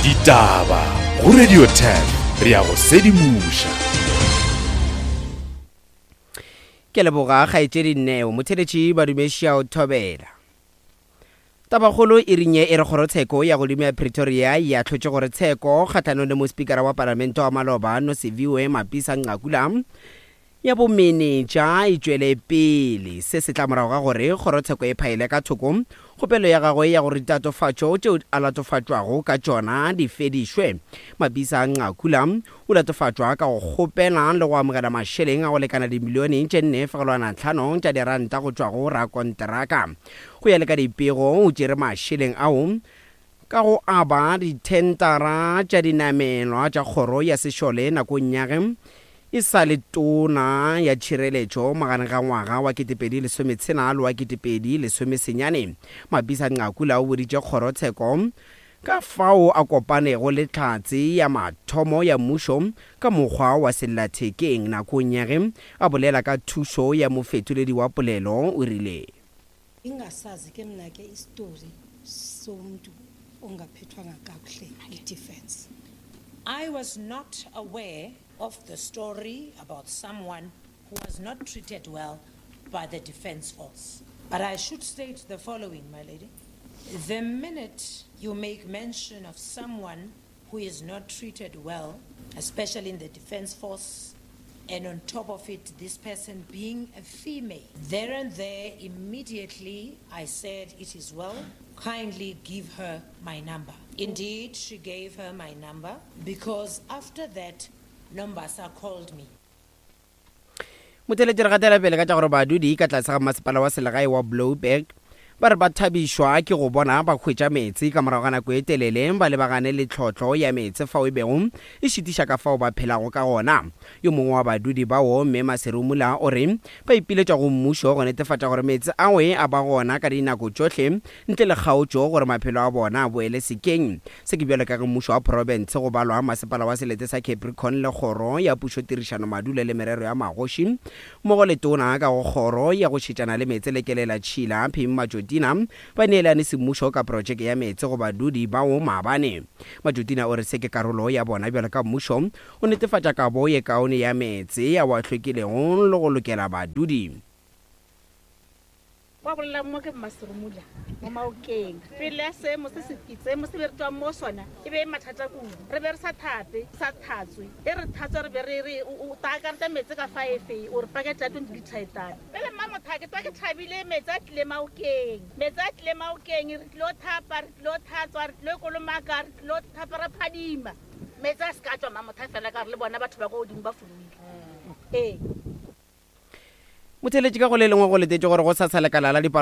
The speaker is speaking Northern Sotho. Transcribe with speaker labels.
Speaker 1: Ditaba go Radio 10 re a go sedimoša.
Speaker 2: Ke leboga kgaetšedi Neo. Motheletši Badumešia o thobela. Tabakgolo e ring ye e re kgorotsheko ya godimo ya Pretoria e ahlotše gore tsheko kgahlanong le mospikara wa palamente wa maloba Nosiviwe Mapisa Nqakula ya bomenetša e tšwele pele. Se se tla morago ga gore kgorotsheko e phaele ka thoko kgopelo ya gagwe ya gore ditatofatšo tšeo a latofatšwago ka tšona di fedišwe. Mapisa Nqakula o latofatšwa ka go kgopela le go amogela mašeleng a go lekana dimilione tše 4.5 tša diranta go tšwa go rakonteraka. Go ya le ka dipego, o tšere mašeleng ao ka go aba dithentara tša dinamelwa tša kgoro ya sešole nakong ya ge e sa le tona ya tšhireletšo magareng ga ngwaga wa 2016 le wa 2019. Mapisa Nqakula o boditše kgorotsheko ka fao a kopanego le Hlatse ya mathomo ya mmušo ka mokgwa wa sellathekeng nakong ya ge a bolela ka thušo ya mofetoledi wa polelo, o rile.
Speaker 3: Ngingasazi ke mna ke isitori somntu ongaphethwanga kakuhle yi-defence.
Speaker 4: I was not aware of the story about someone who was not treated well by the defence force. But I should state the following, my lady. The minute you make mention of someone who is not treated well, especially in the defence force, and on top of it, this person being a female, there and there, immediately, I said, it is well, kindly give her my number. Indeed, she gave her my number because after that, Nombasa called me.
Speaker 2: Motheletši re gatela pele ka tša gore badudi ka tlase ga masepala wa selegae wa Blouberg ba re ba thabišwa ke go bona ba hwetša meetse ka morago ga nako e telele ba lebagane le tlhotlo ya meetse fao e bego e šitiša ka fao ba phelago ka gona. Yo mongwe wa badudi bao, Mme Maserumula o re ba ipiletša go mmušo go netefatša gore meetse ao a ba gona ka dinako tšohle ntle le kgaotšo gore maphelo a bona a boele sekeng. Se ke bjalo ka ge mmušo wa profense go balwa masepala wa selete sa Capricorn le kgoro ya pušo tirišano madulo le merero ya magoši mmogo le tona ka go kgoro ya go šetšana le meetse le kelela tšhila Pim Majotina ba neelane semmušo ka projeke ya meetse go badudi bao maabane. Majotina o re se ke karolo ya bona bjalo ka mmušo o netefatša kabo ye kaone ya meetse ao a hlwekilego le go lokela badudi.
Speaker 5: Wa bolelang mo ke Mmaserumula mo Maokeng. Pele ya seemo se se seemo se be re tswang mo sona e be e mathata kudu. Re be re sa thape, sa thatswe. E re thatswa re be re re o taakareta meetse ka fa efe o re pakete ya 20 litre e tala. Pele Mmamotha ke tswa ke thabile meetse a tlile Maokeng. Meetse a tlile Maokeng re tlilo thapa, re tlilo thatswa, re tlilo kolomaka, re tlilo thapa ra phadima. Meetse a se ka tšwa Mmamotha fela ka gore le bona batho ba ko godimo ba foloile. Ee.
Speaker 2: Motheeletši ka go le lengwe go letetše gore go sasa lekala la dipalo.